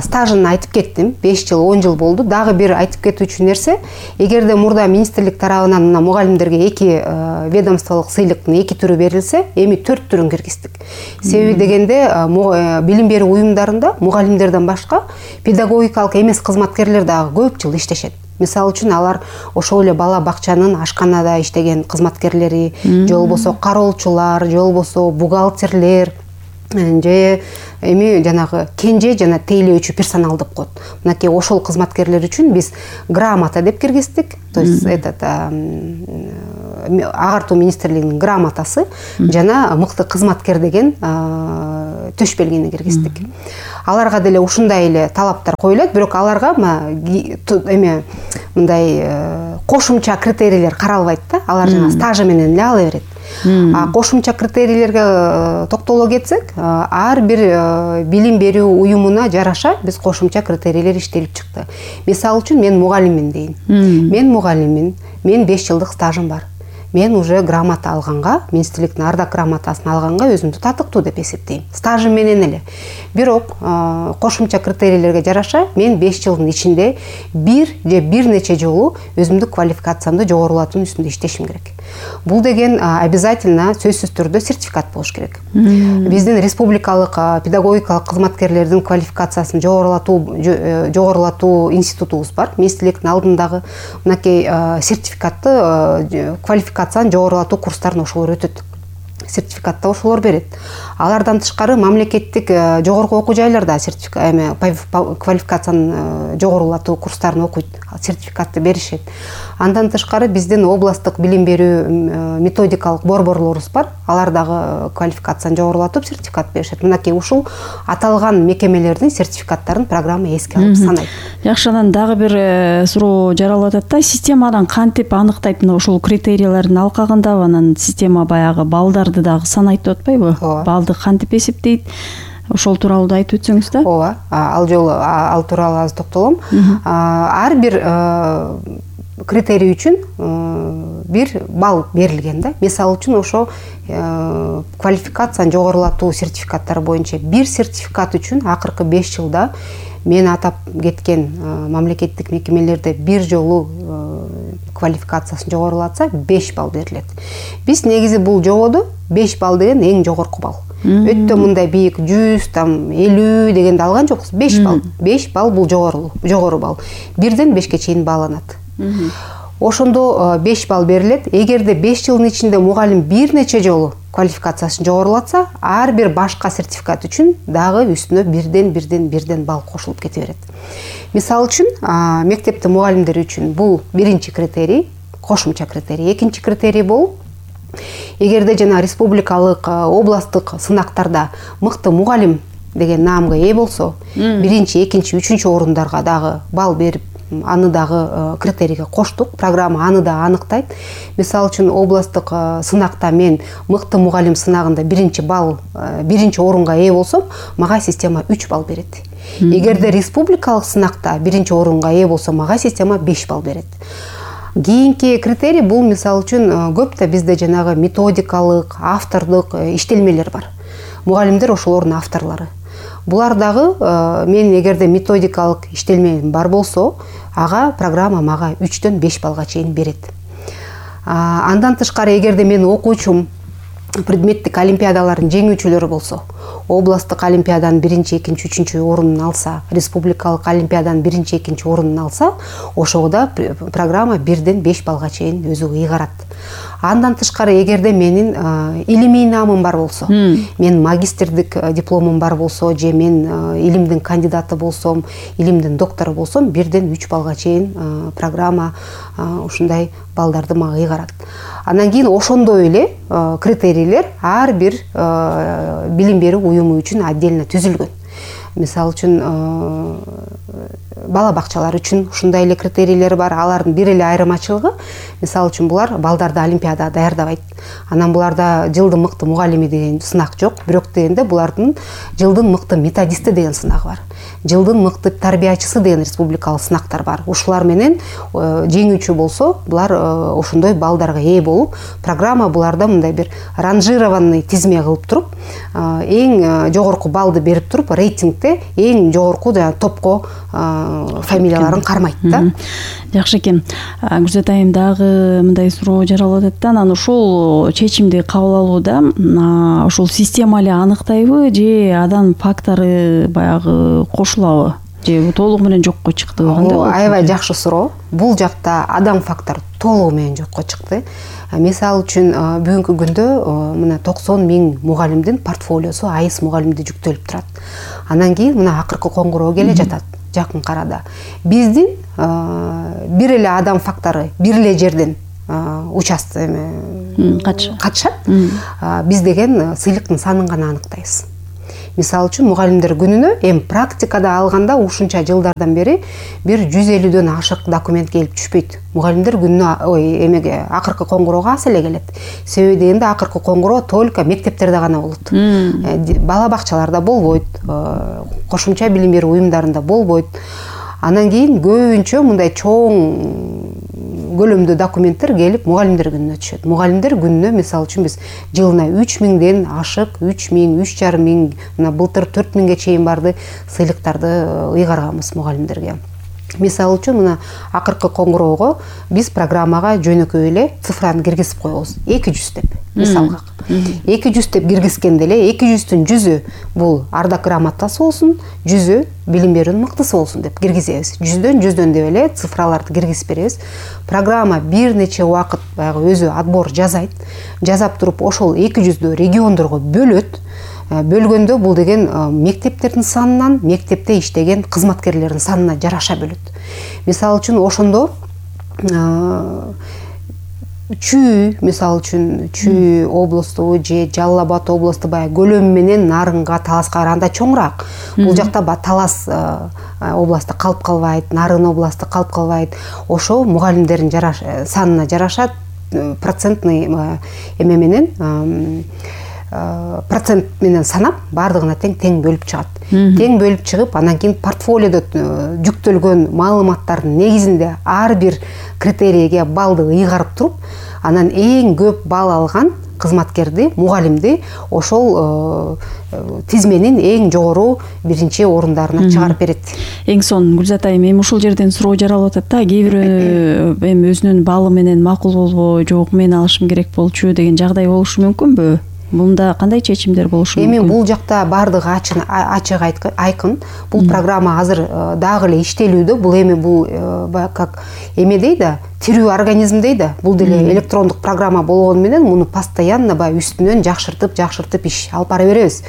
Стажын айтып кеттим. беш жыл, он жыл болду. Дагы бир айтып кетүүчү нерсе, эгерде мурда министрлик тарабынан мына мугалимдерге эки ведомстволук сыйлыктын эки түрү берилсе, эми төрт түрүн киргиздик. Себеби дегенде билим берүү уюмдарында мугалимдерден башка педагогикалык эмес кызматкерлер дагы көп жыл иштешет. Мисалы үчүн алар ошол эле бала бакчанын ашканада иштеген кызматкерлери, же болбосо кароолчулар, же болбосо бухгалтерлер, же эми жанагы кенже жана тейлөөчү персонал деп коет. Мынакей ошол кызматкерлер үчүн биз грамота деп киргиздик. То есть этот агартуу министрлигинин грамотасы жана мыкты кызматкер деген төш белгини киргиздик. Аларга деле ушундай эле талаптар коюлат, бирок аларга эме мындай кошумча критерийлер каралбайт да. Алар жана стажы менен эле ала берет. А кошумча критерийлерге токтоло кетсек, ар бир билим берүү уюмуна жараша биз кошумча критерийлер иштелип чыкты. Мисалы үчүн мен мугалиммин дейин. Мен мугалиммин, мен беш жылдык стажым бар. Мен уже грамота алганга, министрликтин ардак грамотасын алганга өзүмдү татыктуу деп эсептейм. Стажым менен эле. Бирок кошумча критерийлерге жараша мен беш жылдын ичинде бир же бир нече жолу өзүмдүк квалификациямды жогорулатуунун үстүндө иштешим керек. Бул деген обязательно сөзсүз түрдө сертификат болуш керек. Биздин республикалык педагогикалык кызматкерлердин квалификациясын жогорулатуу жогорулатуу институтубуз бар. Министрликтин алдындагы мынакей сертификатты квалификацияны жогорулатуу курстарын ошолор өтөт. Сертификатты ошолор берет. Алардан тышкары мамлекеттик жогорку окуу жайларда сертификат квалификацияны жогорулатуу курстарын окуйт, сертификатты беришет. Андан тышкары биздин областтык билим берүү методикалык борборлорубуз бар. Алар дагы квалификацияны жогорулатып сертификат беришет. Мынакей ушул аталган мекемелердин сертификаттарын программа эске алып санайт.
Жакшы, анан дагы бир суроо жаралып атат да, системадан кантип анықтайт мына ушул критерийлердин алкагында, анан система баягы балдарды дагы санайт деп атпайбы? Балды кантип эсептейт? Ошол тууралуу да айтып өтсөңүз да.
Ооба, ал жолу ал тууралуу аз токтолом. Ар бир критерий үчүн бир балл берилген да. Мисалы үчүн ошо квалификацияны жогорулатуу сертификаттары боюнча бир сертификат үчүн акыркы беш жылда мен атап кеткен мамлекеттик мекемелерде бир жолу квалификациясын жогорулатса беш балл берилет. Биз негизи бул жободо беш балл деген эң жогорку балл. Өтө мындай бийик жүз, там элүү дегенди алган жокпуз. беш балл. беш балл бул жогору, жогору балл. Бирден бешке чейин бааланат. Ошондо беш балл берилет. Эгерде беш жылдын ичинде мугалим бир нече жолу квалификациясын жогорулатса, ар бир башка сертификат үчүн дагы үстүнө бирден бирден бирден балл кошулуп кете берет. Мисалы үчүн, мектепте мугалимдер үчүн бул биринчи критерий, кошумча критерий. Экинчи критерий бул эгерде жана республикалык, областтык сынактарда мыкты мугалим деген наамга ээ болсо, биринчи, экинчи, үчүнчү орундарга дагы балл берип, аны дагы критерийге коштук. Программа аны да аныктайт. Мисалы үчүн областтык сынакта мен мыкты мугалим сынагында биринчи балл, биринчи орунга ээ болсом, мага система үч балл берет. Эгерде республикалык сынакта биринчи орунга ээ болсо, мага система беш балл берет. Кийинки критерий бул мисалы үчүн көп да бизде жанагы методикалык, автордук иштелмелер бар. Мугалимдер ошолордун авторлору. Булар дагы мен эгерде методикалык иштелмем бар болсо, ага программа мага үчтөн беш баллга чейин берет. Андан тышкары эгерде мен окуучум предметтик олимпиадалардын жеңүүчүлөрү болсо, областтык олимпиаданын биринчи, экинчи, үчүнчү орунун алса, республикалык олимпиаданын биринчи, экинчи орунун алса, ошого программа бирден беш баллга чейин өзү ыйгарат. Андан тышкары эгерде менин илимий наамым бар болсо, мен магистрдик дипломум бар болсо, же мен илимдин кандидаты болсом, илимдин доктору болсом, бирден үч баллга чейин программа ушундай балдарды мага ыйгарат. Андан кийин ошондой эле критерийлер ар бир билим берүү уюму үчүн отдельно түзүлгөн. Мисалы үчүн бала бакчалар үчүн ушундай эле критерийлер бар. Алардын бир эле айырмачылыгы, мисалы үчүн булар балдарды олимпиадага даярдабайт. Анан буларда жылдын мыкты мугалими деген сынак жок. Бирок дегенде булардын жылдын мыкты методисти деген сынагы бар. Жылдын мыкты тарбиячысы деген республикалык сынактар бар. Ушулар менен жеңүүчү болсо, булар ошондой балдарга ээ болуп, программа буларда мындай бир ранжированный тизме кылып туруп, эң жогорку балды берип туруп, рейтингде эң жогорку жанагы топко фамилияларын кармайт да.
Жакшы экен. Гүлзат айым дагы мындай суроо жаралып атат да, анан ушул чечимди кабыл алууда ушул система эле аныктайбы же адам фактору баягы кошулабы? Же толугу менен жокко чыкты?
Аябай жакшы суроо. Бул жакта адам фактору толугу менен жокко чыкты. Мисалы үчүн бүгүнкү күндө мына токсон миң мугалимдин портфолиосу айыс мугалимде жүктөлүп турат. Анан кийин мына акыркы коңгуроо келе жатат жакын карада. Биздин бир эле адам фактору бир эле жерден участок катышат. Биз деген сыйлыктын санын гана аныктайбыз. Мисалы үчүн мугалимдер күнүнө эми практикада алганда ушунча жылдардан бери бир жүз элүүдөн ашык документ келип түшпөйт. Мугалимдер күнүнө ой эмеге акыркы коңгуроого аз эле келет. Себеби дегенде акыркы коңгуроо только мектептерде гана болот. Бала бакчаларда болбойт, кошумча билим берүү уюмдарында болбойт. Анан кийин көбүнчө мындай чоң көлөмдө документтер келип мугалимдер күнүнө түшөт. Мугалимдер күнүнө мисалы үчүн биз жылына үч миңден ашык, үч миң, үч жарым миң, мына былтыр төрт миңге чейин барды сыйлыктарды ыйгарганбыз мугалимдерге. Мисалы үчүн мына акыркы коңгуроого биз программага жөнөкөй эле цифраны киргизип коебуз. эки жүз деп мисалга. эки жүз деп киргизгенде эле эки жүздүн жүзү бул ардак грамотасы болсун, жүзү билим берүүнүн мыктысы болсун деп киргизебиз. Жүздөн жүздөн деп эле цифраларды киргизип беребиз. Программа бир нече убакыт баягы өзү отбор жасайт. Жасап туруп ошол эки жүздү региондорго бөлөт. Бөлгөндө бул деген мектептердин санынан, мектепте иштеген кызматкерлердин санына жараша бөлөт. Мисалы үчүн ошондо Чүй, мисалы үчүн Чүй облусту же Жалал Абад облусту баягы көлөмү менен Нарынга, Таласка караганда чоңураак. Бул жакта Талас областы калып калбайт, Нарын областы калып калбайт. Ошо мугалимдердин санына жараша процентный эме менен процент менен санап бардыгына тең тең бөлүп чыгат. Тең бөлүп чыгып, анан кийин портфолиодо жүктөлгөн маалыматтардын негизинде ар бир критерийге балды ыйгарып туруп, анан эң көп балл алган кызматкерди, мугалимди ошол тизменин эң жогору биринчи орундарына чыгарып берет.
Эң сонун Гүлзат айым, эми ушул жерден суроо жаралып атат да, кээ бирөө эми өзүнүн баллы менен макул болбой, жок мен алышым керек болчу деген жагдай болушу мүмкүнбү? Мында кандай чечимдер болушу мүмкүн? Эми
бул жакта бардыгы ачык айкын. Бул программа азыр дагы эле иштелүүдө. Бул эми бул как эме дейда, тирүү организм дейда. Бул деле электрондук программа болгону менен муну постоянно баягы үстүнөн жакшыртып, жакшыртып иш алып бара беребиз.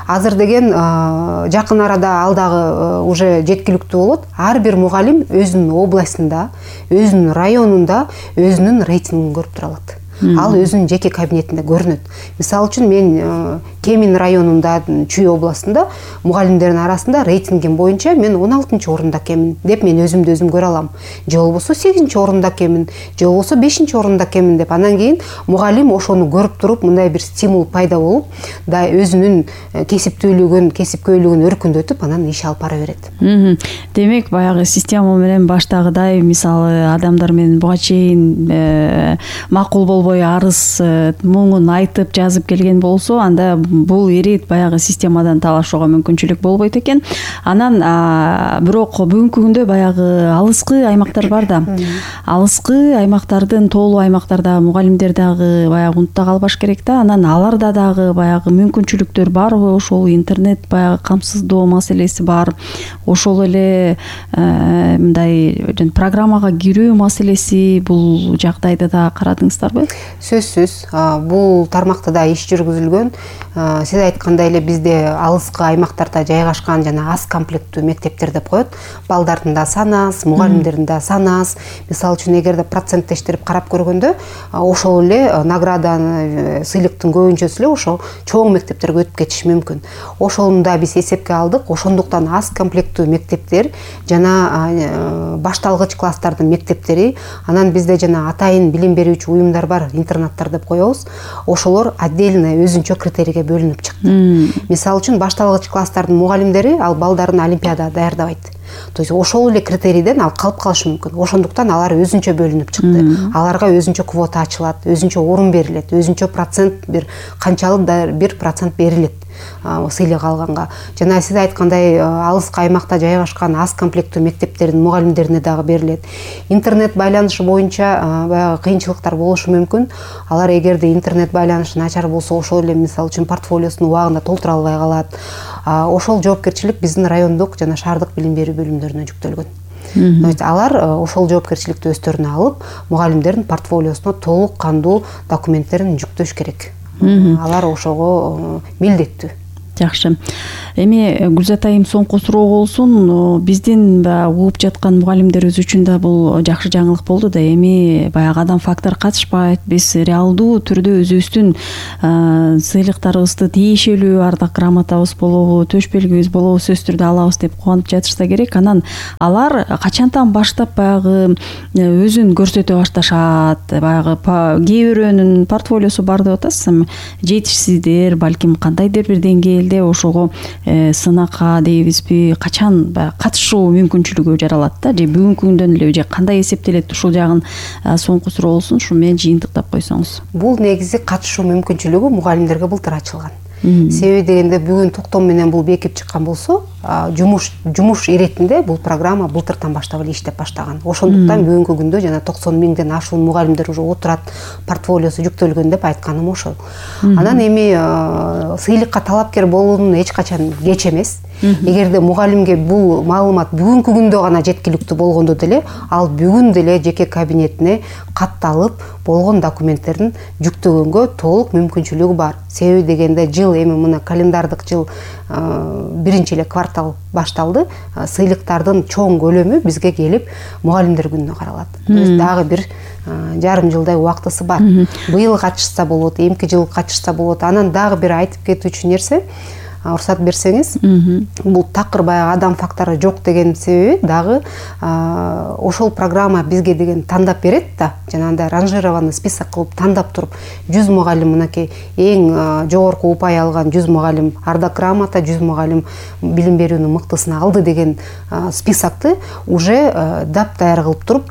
Азыр деген жакын арада ал дагы уже жеткиликтүү болот. Ар бир мугалим өзүнүн областында, өзүнүн районунда өзүнүн рейтингин көрүп тура алат. Ал өзүнүн жеке кабинетинде көрүнөт. Мисалы үчүн мен Кемин районунда, Чүй областында мугалимдердин арасында рейтингим боюнча мен он алтынчы орунда кемин деп мен өзүмдү өзүм көрө алам. Же болбосо сегизинчи орунда кемин, же болбосо бешинчи орунда кемин деп. Анан кийин мугалим ошону көрүп туруп, мындай бир стимул пайда болуп, да өзүнүн кесиптүүлүгүн, кесипкөйлүгүн өркүндөтүп, анан иш алып бара берет.
Демек, баягы система менен баштагыдай, мисалы, адамдар менен буга чейин макул болбой арыз муңун айтып жазып келген болсо, анда бул ирет баягы системадан талашууга мүмкүнчүлүк болбойт экен. Анан бирок бүгүнкү күндө баягы алыскы аймактар бар да. Алыскы аймактардын, тоолуу аймактарда мугалимдер дагы баягы унутта калбаш керек да. Анан аларда дагы баягы мүмкүнчүлүктөр барбы? Ошол интернет баягы камсыздоо маселеси бар. Ошол эле мындай программага кирүү маселеси, бул жагдайды да карадыңыздарбы?
Сөзсүз бул тармакта да иш жүргүзүлгөн. сиз айткандай эле бизде алыскы аймактарда жайгашкан жана аз комплекттүү мектептер деп коет. Балдардын да саны аз, мугалимдердин да саны аз. Мисалы үчүн эгерде проценттештирип карап көргөндө ошол эле награданы, сыйлыктын көбүнчөсү эле ошо чоң мектептерге өтүп кетиши мүмкүн. Ошону да биз эсепке алдык. Ошондуктан аз комплекттүү мектептер жана башталгыч класстардын мектептери, анан бизде жана атайын билим берүүчү уюмдар бар, интернаттар деп коебуз. Ошолор отдельно өзүнчө критерийге бөлүнүп чыкты. Мисалы үчүн башталгыч класстардын мугалимдери ал балдарын олимпиадага даярдабайт. То есть ошол эле критерийден ал калып калышы мүмкүн. Ошондуктан алар өзүнчө бөлүнүп чыкты. Аларга өзүнчө квота ачылат, өзүнчө орун берилет, өзүнчө процент бир канчалык бир процент берилет сыйлык алганга. Жана сиз айткандай алыскы аймакта жайгашкан аз комплекттүү мектептердин мугалимдерине дагы берилет. Интернет байланышы боюнча баягы кыйынчылыктар болушу мүмкүн. Алар эгерде интернет байланышы начар болсо, ошол эле мисалы үчүн портфолиосун убагында толтура албай калат. Ошол жоопкерчилик биздин райондук жана шаардык билим берүү бөлүмдөрүнө жүктөлгөн. То есть алар ошол жоопкерчиликти өздөрүнө алып, мугалимдердин портфолиосуна толук кандуу документтерин жүктөш керек. Алар ошого милдеттүү.
Жакшы. Эми Гүлзат айым соңку суроо болсун. Биздин угуп жаткан мугалимдерибиз үчүн да бул жакшы жаңылык болду да. Эми баягы адам фактор катышпайт. Биз реалдуу түрдө өзүбүздүн сыйлыктарыбызды тиешелүү ардак грамотабыз болобу, төш белгибиз болобу сөзсүз түрдө алабыз деп кубанып жатышса керек. Анан алар качантан баштап баягы өзүн көрсөтө башташат. Баягы кээ бирөөнүн портфолиосу бар деп атасыз. Жетишсиздер, балким кандайдыр бир деңгээлде ошого сынакка дейбизби, качан катышуу мүмкүнчүлүгү жаралат да, же бүгүнкү күндөн эле же кандай эсептелет, ушул жагын соңку суроо болсун, ушу менен жыйынтыктап койсоңуз.
Бул негизи катышуу мүмкүнчүлүгү мугалимдерге былтыр ачылган. Себеби дегенде бүгүн токтом менен бул бекип чыккан болсо, жумуш жумуш иретинде бул программа былтыртан баштап эле иштеп баштаган. Ошондуктан бүгүнкү күндө жана токсон миңден ашуун мугалимдер уже отурат, портфолиосу жүктөлгөн деп айтканым ошол. Анан эми сыйлыкка талапкер болуунун эч качан кеч эмес. Эгерде мугалимге бул маалымат бүгүнкү күндө гана жеткиликтүү болгондо деле, ал бүгүн деле жеке кабинетине катталып, болгон документтерин жүктөгөнгө толук мүмкүнчүлүгү бар. Себеби дегенде жыл эми мына календардык жыл биринчи эле квартал башталды. Сыйлыктардын чоң көлөмү бизге келип мугалимдер күнүнө каралат. То есть дагы бир жарым жылдай убактысы бар. Быйыл катышса болот, эмки жыл катышса болот. Анан дагы бир айтып кетүүчү нерсе, уруксат берсеңиз, бул такыр баягы адам фактору жок деген себеби дагы ошол программа бизге деген тандап берет да, жанагындай ранжированный список кылып тандап туруп, жүз мугалим мынакей эң жогорку упай алган жүз мугалим ардак грамота, жүз мугалим билим берүүнүн мыктысына алды деген списокты уже дап даяр кылып туруп,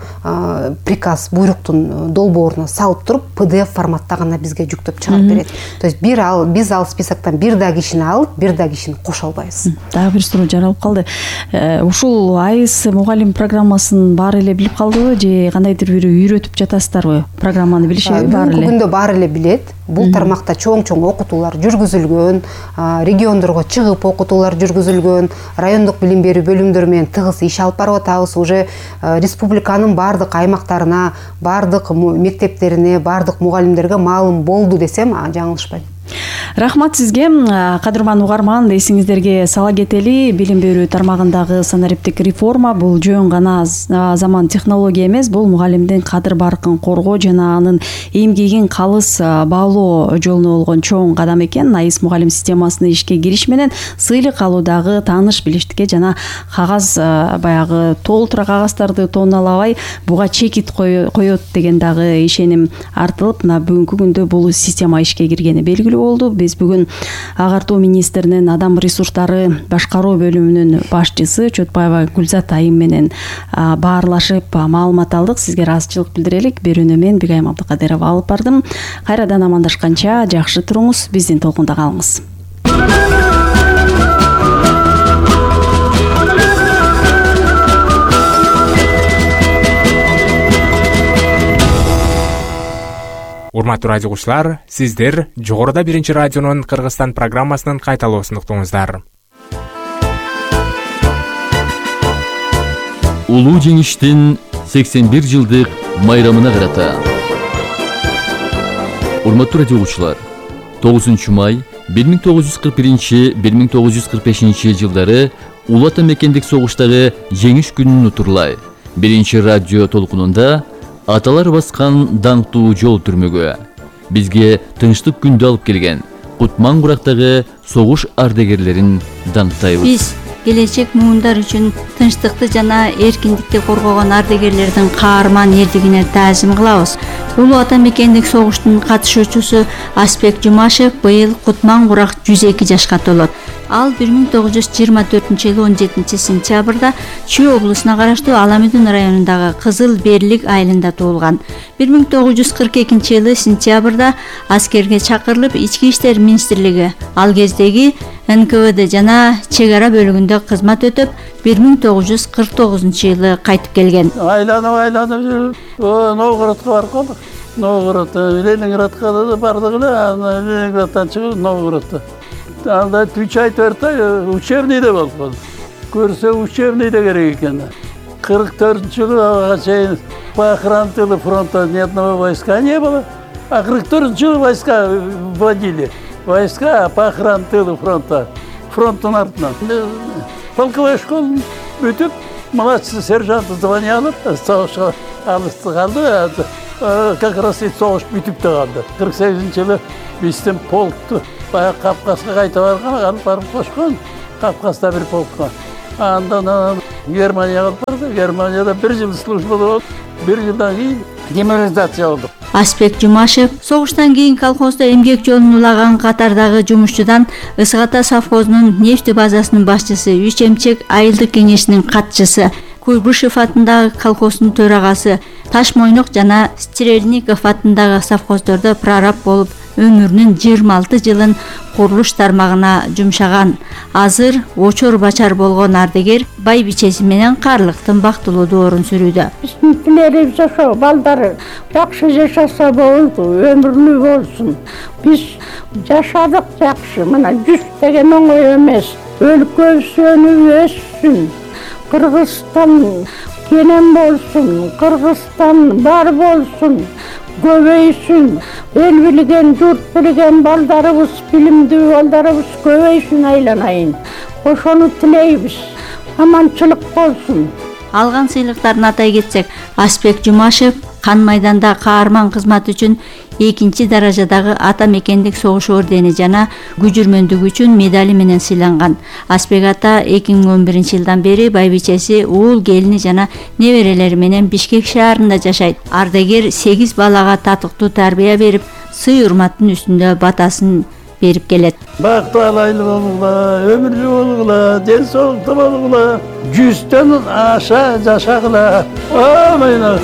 приказ, буйруктун долбооруна салып туруп, пи ди эф форматта гана бизге жүктөп чыгарып берет. То есть бир ал биз ал списоктон бир да кишини алып, бир да кишини кошо албайбыз.
Дагы бир суроо жаралып калды. Ушул айс мугалим программасын баары эле билип калдыбы же кандайдыр бир үйрөтүп жатасыздарбы? Программаны билишеби баары эле?
Бүгүнкү күндө баары эле билет. Бул тармакта чоң-чоң окутуулар жүргүзүлгөн, региондорго чыгып окутуулар жүргүзүлгөн, райондук билим берүү бөлүмдөрү менен тыгыз иш алып барып атабыз. Уже республиканын баардык аймактарына, баардык мектептерине, баардык мугалимдерге маалым болду десем, жаңылышпайм.
Рахмат сизге. Кадырман угарман, эсиңиздерге сала кетели, билим берүү тармагындагы санариптик реформа бул жөн гана заман технология эмес, бул мугалимдин кадыр баркын коргоо жана анын эмгегин калыс баалоо жолуна болгон чоң кадам экен. Айс мугалим системасына ишке кириш менен сыйлык алуудагы тааныш билиштикке жана кагаз баягы толтура кагаздарды тонналабай буга чекит коет деген дагы ишеним артылып, мына бүгүнкү күндө бул система ишке киргени белгилүү болду. Биз бүгүн агартуу министринин адам ресурстары башкаруу бөлүмүнүн башчысы Чотбаева Гүлзат айым менен баарлашып маалымат алдык. Сизге ыраазычылык билдирелик. Берүүнү мен Бигайым Абдыкадырова алып бардым. Кайрадан амандашканча жакшы туруңуз, биздин толкунда калыңыз.
Урматтуу радио угуучулар, сиздер жогоруда биринчи радионун Кыргызстан программасынын кайталоосун уктуңуздар.
Улуу жеңиштин сексен бир жылдык майрамына карата. Урматтуу радио угуучулар, тогузунчу май бир миң тогуз жүз кырк биринчи — бир миң тогуз жүз кырк бешинчи жылдары Улуу Ата Мекендик согуштагы жеңиш күнүн утурлай биринчи радио толкунунда аталар баскан даңктуу жол түрмөгү бизге тынчтык күндү алып келген Кутман Курактагы согуш ардагерлерин даңктайбыз.
Биз келечек муундар үчүн тынчтыкты жана эркиндикти коргогон ардагерлердин каарман эрдигине таазим кылабыз. Улуу Ата Мекендик согуштун катышуучусу Аспек Жумашев быйыл Кутман Курак жүз эки жашка толот. Ал бир миң тогуз жүз жыйырма төртүнчү жылы он жетинчи сентябрда Чүй облусуна караштуу Аламүдүн районундагы Кызыл Берлик айылында туулган. бир миң тогуз жүз кырк экинчи жылы сентябрда аскерге чакырылып Ички иштер министрлиги ал кездеги эн ка вэ дэ жана чек ара бөлүгүндө кызмат өтөп, бир миң тогуз жүз кырк тогузунчу жылы кайтып келген.
Айланып айланып жүрүп, Новгородко барып калдык. Новгород, Ленинградка да бардык эле, анан Ленинградтан чыгып Новгородто. Анда үч ай төрт ай учебныйда болуп калдык. Көрсө учебныйда керек экен. кырк төртүнчү жылы ага чейин по охране тыла фронта ни одного войска не было. А кырк төртүнчү жылы войска вводили. Войска по охране тыла фронта. Фронттун артынан. Полковой школу бүтүп, младший сержант звание алып, согушка алысты калды. Как раз и согуш бүтүп да калды. кырк сегизинчи жылы биздин полкту баягы Кавказга кайта барган, алып барып кошкон. Кавказда бир полкко. Андан Германияга алып барды. Германияда бир жыл службада болуп, бир жылдан кийин демобилизация болдук.
Аспек Жумашев согуштан кийин колхоздо эмгек жолун улаган катардагы жумушчудан Ысык Ата совхозунун нефть базасынын башчысы, Үч эмчек айылдык кеңешинин катчысы, Куйбышев атындагы колхоздун төрагасы, Ташмойнок жана Стрельников атындагы совхоздордо прораб болуп, өмүрүнүн жыйырма алты жылын курулуш тармагына жумшаган. Азыр очор бачар болгон ардагер байбичеси менен каарлыктын бактылуу орун сүрүүдө.
Биздин тилерибиз ошо балдары жакшы жашаса болду, өмүрлүү болсун. Биз жашадык жакшы, мына жүз деген оңой эмес. Өлкөбүз өнүп өссүн. Кыргызстан кенен болсун, Кыргызстан бар болсун, көбөйсүн. Эл билген, журт билген балдарыбыз, билимдүү балдарыбыз көбөйсүн айланайын. Ошону тилейбиз. Аманчылык болсун.
Алган сыйлыктарын атай кетсек, Аспек Жумашев Кан майданда каарман кызмат үчүн экинчи даражадагы Ата Мекендик согуш ордени жана күжүрмөндүгү үчүн медали менен сыйланган. Аспек ата эки миң он биринчи жылдан бери байбичеси, уул келини жана неберелери менен Бишкек шаарында жашайт. Ардагер сегиз балага татыктуу тарбия берип, сый урматтын үстүндө батасын берип келет.
Бактуу алайлы болгула, өмүрлүү болгула, ден соолуктуу болгула, жүздөн аша жашагыла. Амин.